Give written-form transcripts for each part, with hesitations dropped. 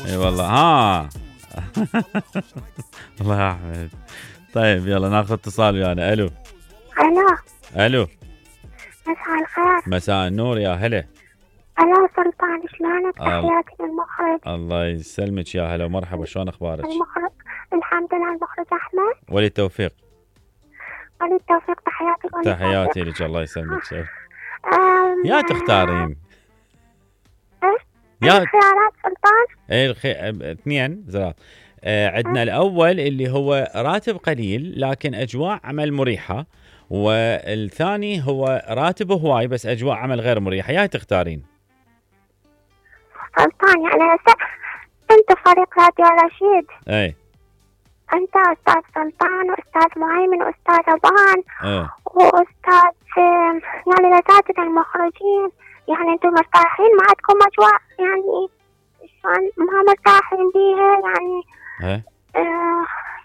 اي والله ها. الله يا احمد. طيب يلا ناخذ اتصال ويانا. الو. الو. مساء الخير. مساء النور يا هلا. الو سلطان، شلونك؟ تحياتي للمخرج. الله يسلمك يا هلا ومرحبا، شلون اخبارك؟ المخرج الحمد لله. المخرج احمد. ولي التوفيق. ولي التوفيق، تحياتي. تحياتي لك، الله يسلمك. يا تختارين يا خيارات سلطان؟ اثنين زرار. عندنا الأول اللي هو راتب قليل لكن أجواء عمل مريحة، والثاني هو راتب هواي بس أجواء عمل غير مريحة. يا تختارين؟ سلطان يعني أنت فريق راديو رشيد. اي أنت أستاذ سلطان وأستاذ مهيمن وأستاذ أبان وأستاذ يعني الأساتذة المخرجين، يعني أنتم مرتاحين؟ ما عندكم أجواء يعني شلون ما مرتاحين بيها يعني؟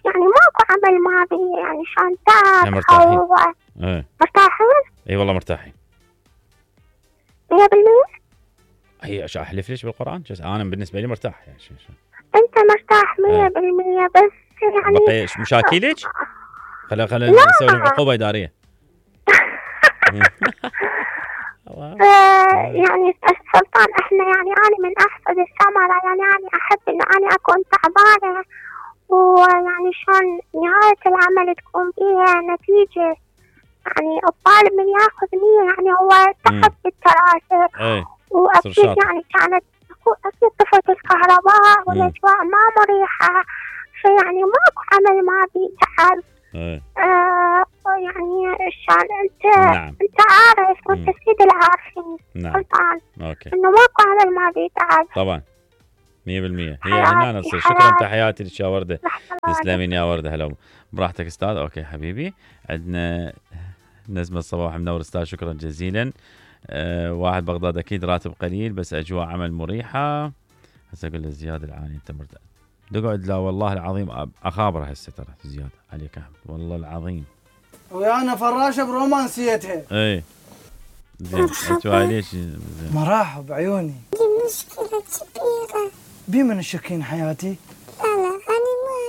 يعني ماكو عمل ما بيه يعني شلون تعب؟ مرتاحين. مرتاحين؟ اي والله مرتاحين 100%. هي احلف ليش بالقرآن؟ انا بالنسبة لي مرتاح يعني. انت مرتاح 100% بس يعني بقي مشاكلك؟ خلينا نسوي عقوبة إدارية. يعني سلطان احنا يعني انا من احسن الثمرة، يعني انا احب ان انا اكون تعبانة ويعني شلون نهاية العمل تكون فيها نتيجة، يعني الطالب من ياخذ 100 يعني هو تعب بالدراسة. واكيد يعني كانت اكيد طفت الكهرباء والاجواء ما مريحة، فيعني ماكو عمل ما بيتعب. يعني شلون انت انت عارف وانت سيد العارفين سلطان انه ماكو عمل ما بيتعب. طبعا 100%. هي هنا نصير. شكرا، تحياتي لك يا وردة. تسلمين يا وردة. هلا براحتك استاذ. اوكي حبيبي. عندنا نزمة الصباح منور استاذ، شكرا جزيلا. واحد بغداد اكيد راتب قليل بس اجواء عمل مريحة. هسه اقول له زياد العاني انت مرتاح تقعد. لا والله العظيم اخابره هسه ترى زياد عليك احمد والله العظيم. ويانا فراشة برومانسيتها. اي زين. انتوا ليش مراحب بعيوني. دي مشكلة كبيرة. بمن الشكين حياتي؟ لا أنا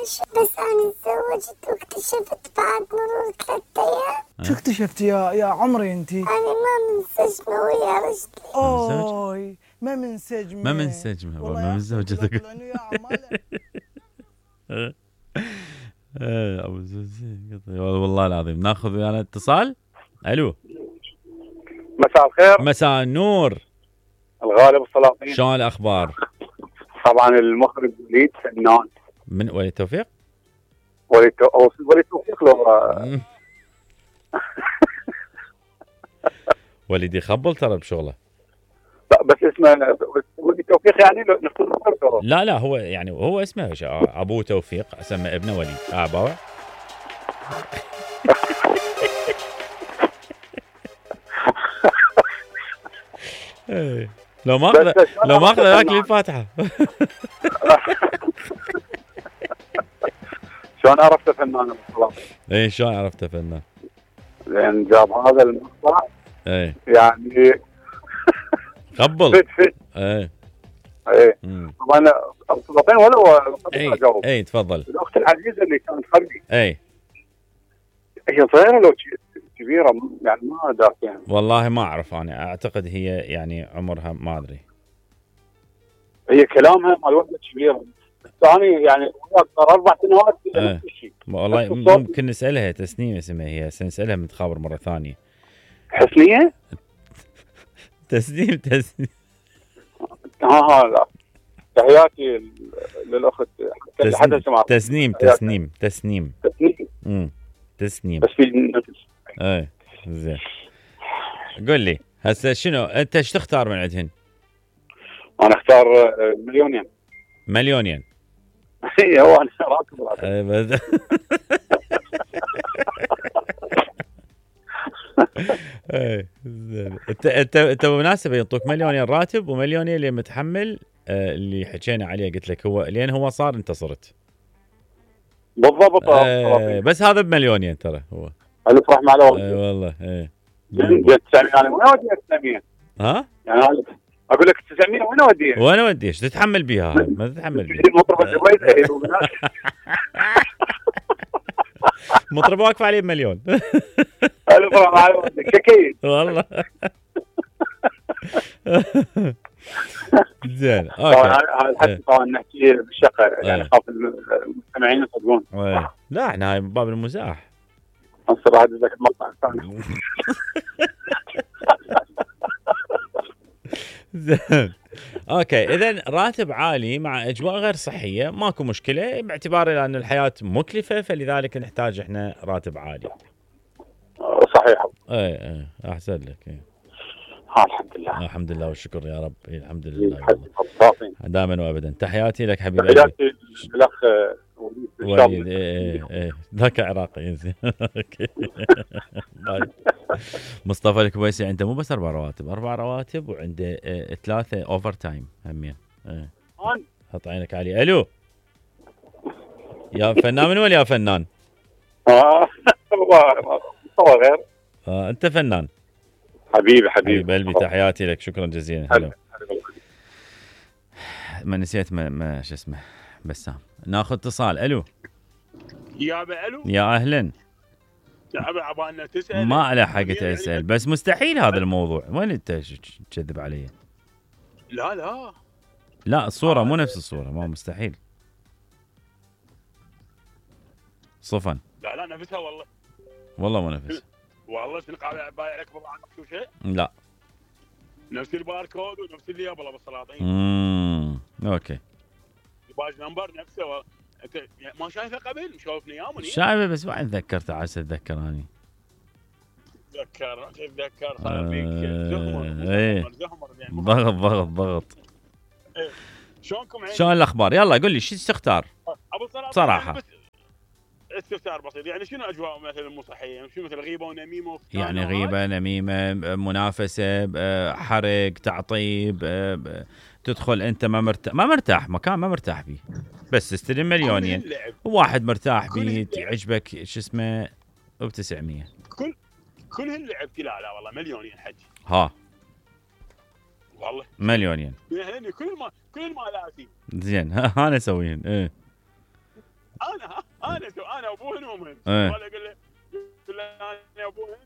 ماشي، بس أنا تزوجت واكتشفت بعد مرور 3 أيام. شو اكتشفتي يا عمري انتي؟ أنا ما منسجمة ويا رجلي. أوي ما منسجمة. ما منسجمة والله ما من زوجتك. ابو زوزي والله العظيم. ناخذ ويانا اتصال. الو. مساء الخير. مساء النور. الغالب السلاطين. شلون الاخبار؟ طبعا المخرج وليد فنان. من وليد التوفيق؟ وليد التوفيق لو وليد يخبل ترى بشغله. لا بس اسمه وليد التوفيق يعني لا هو يعني هو اسمه ابوه توفيق اسمى ابنه وليد. باوع. لو ما اخذ ذاك الفاتحه. شلون عرفته فنان بالصلاة؟ اي شلون عرفته فنان؟ لان جاب هذا المقطع. اي يعني قبل. اي طبعا السلاطين ولا اي تفضل. الاخت العزيزه اللي كانت خلفي. اي هي صغيره لو كبيره يعني ما ادرك يعني. والله ما اعرف، انا اعتقد هي يعني عمرها ما ادري. هي كلامها مال وحده كبيره. ثاني يعني صار 4 سنوات نفس الشيء. والله ممكن نسالها. تسنيم اسمها هي، نسالها متخابر مره ثانيه. حسنيه؟ تسنيم. لا تحياتي للاخت تسنيم. تسنيم بس في اي زين. قل لي هسه شنو انت ايش تختار من عندهن؟ انا اختار مليونين. هو انا راتب. انت بالمناسبه يعطوك 1,000,000 راتب و1,000,000 اللي متحمل اللي حكينا عليه. قلت لك هو لين هو صار انت صرت بالضبط. بس هذا ب1,000,000 ترى هو. الف رحمه على والديك. والله جد يعني وين ودي 900. ها؟ يعني اقول لك 900 وين اوديها؟ وانا ودي ايش تتحمل بيها هاي؟ ما تتحمل بيها. مطرب الجويس مطرب واقف عليه بمليون. شكيل والله. زين اوكي. هذا طبعا نحكي بالشقه يعني خاف المستمعين يصدقون. لا احنا هاي من باب المزاح. انصر هذا ذاك المقطع الثاني. زين اوكي. اذا راتب عالي مع اجواء غير صحيه ماكو مشكله، باعتبار ان الحياه مكلفه فلذلك نحتاج احنا راتب عالي. صحيح. اي احسن لك. الحمد لله. الحمد لله والشكر يا رب. الحمد لله دائما وابدا. تحياتي لك حبيبي. تحياتي للاخ وليد. ذاك عراقي. اوكي. مصطفى الكويسي عنده مو بس 4 رواتب وعنده 3 اوفر تايم همين. حط عينك علي. الو يا فنان. من وين يا فنان؟ مصطفى غير. انت فنان. حبيبي قلبي. تحياتي لك. شكرا جزيلا. هلا. ما نسيت ما شو اسمه بسام. ناخذ اتصال. الو الو يا اهلا. عبالنا تسال. ما لحقت اسال بس مستحيل هذا الموضوع. وين انت تكذب علي؟ لا الصوره مو نفس الصوره. ما مستحيل صفن. لا نفسها والله مو نفس. والله سنقابع بايعك بضاعه شو شيء. لا نفس الباركود ونفس اللي قبله بالسلاطين. اوكي. الباج نمبر نفسه انت ما شايفه قبل؟ مشوفني ايام. شايفه بس ما تذكرت. عسى اتذكراني. تتذكر صار فيك زهمر يعني. ضغط. شلونكم؟ شلون الاخبار؟ يلا قول لي شو تختار؟ ابو بصراحه استفسار بسيط. يعني شنو اجواء مثلا مو صحيه؟ يعني شنو مثل غيبه ونميمه يعني غيبه نميمه منافسه حرق تعطيب تدخل انت ما مرتاح مكان ما مرتاح بيه بس تستلم مليونين. وواحد مرتاح بيه يعجبك شو اسمه ب900. كل هاللعب. لا والله مليونين حج. والله مليونين. يعني كل المالاتي. زين. انا اسويهن. انا ابوهن وامهن. ولا اقول له انا ابوهن.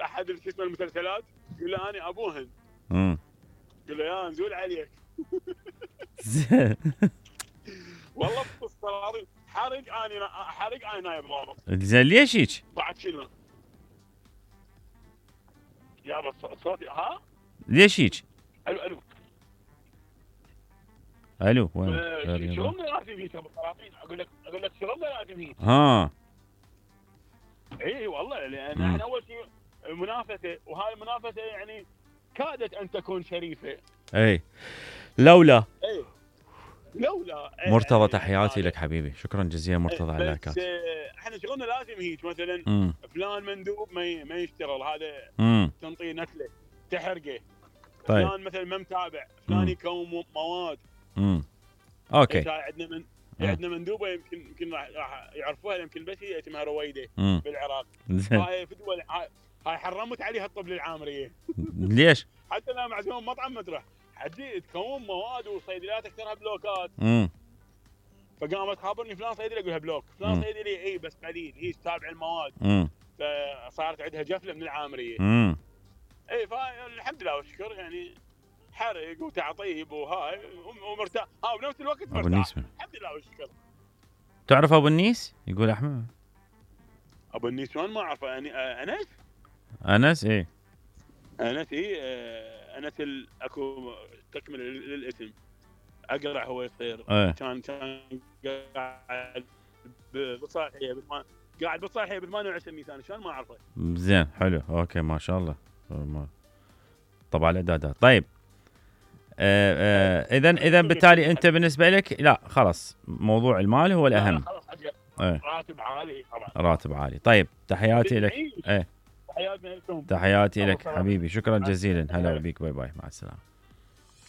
احد شو اسمه المسلسلات يقول له انا ابوهن. يقول له يا نزول عليك. زين. والله بالصراحه حرق انا نايم ضابط. زين ليش هيك؟ بعد شنو؟ يا بس صوتي ليش هيك؟ الو وين؟ شلون لازم هيك بالسلاطين؟ اقول لك شلون لازم هيك؟ اي والله لان احنا اول شيء منافسه، وهاي المنافسه يعني كادت ان تكون شريفه. لولا مرتضى. يعني تحياتي لك حبيبي. شكرا جزيلا مرتضى على اللايكات. احنا شغلنا لازم هيك مثلا فلان مندوب ما يشتغل هذا تنطيه نكله تحرقه. طيب. فلان مثلا ما متابع فلان يكون مواد. اوكي. عندنا مندوبه يمكن راح يعرفوها يمكن بس هي اسمها رويده بالعراق. هاي في دول هاي حرمت عليها الطب العامريه. ليش؟ حتى لو معزوم مطعم مطرح حدي تكون مواد وصيدليات اكثرها بلوكات. فقامت خابرني فلان صيدلي اقولها بلوك، فلان صيدلي بس قليل هي تتابع المواد. فصارت عندها جفله من العامريه. فالحمد لله والشكر يعني حرق وتعطيب وهاي ومرتاح. بنفس الوقت مرتاح الحمد لله والشكر. تعرف ابو النيس؟ يقول احمد ابو النيس شلون ما اعرفه يعني. انس انس اكو تكمل للاسم اقرع هو يصير. كان قاعد بالصالحيه ب 28 نيسان. شلون ما اعرفه؟ زين حلو. اوكي ما شاء الله. طبعا الاعدادات. طيب اذا بالتالي انت بالنسبه لك لا خلاص موضوع المال هو الاهم. راتب عالي طبعا. راتب عالي. طيب تحياتي لك. تحياتي لك حبيبي. شكرا جزيلا. هلا بيك. باي باي مع السلامه.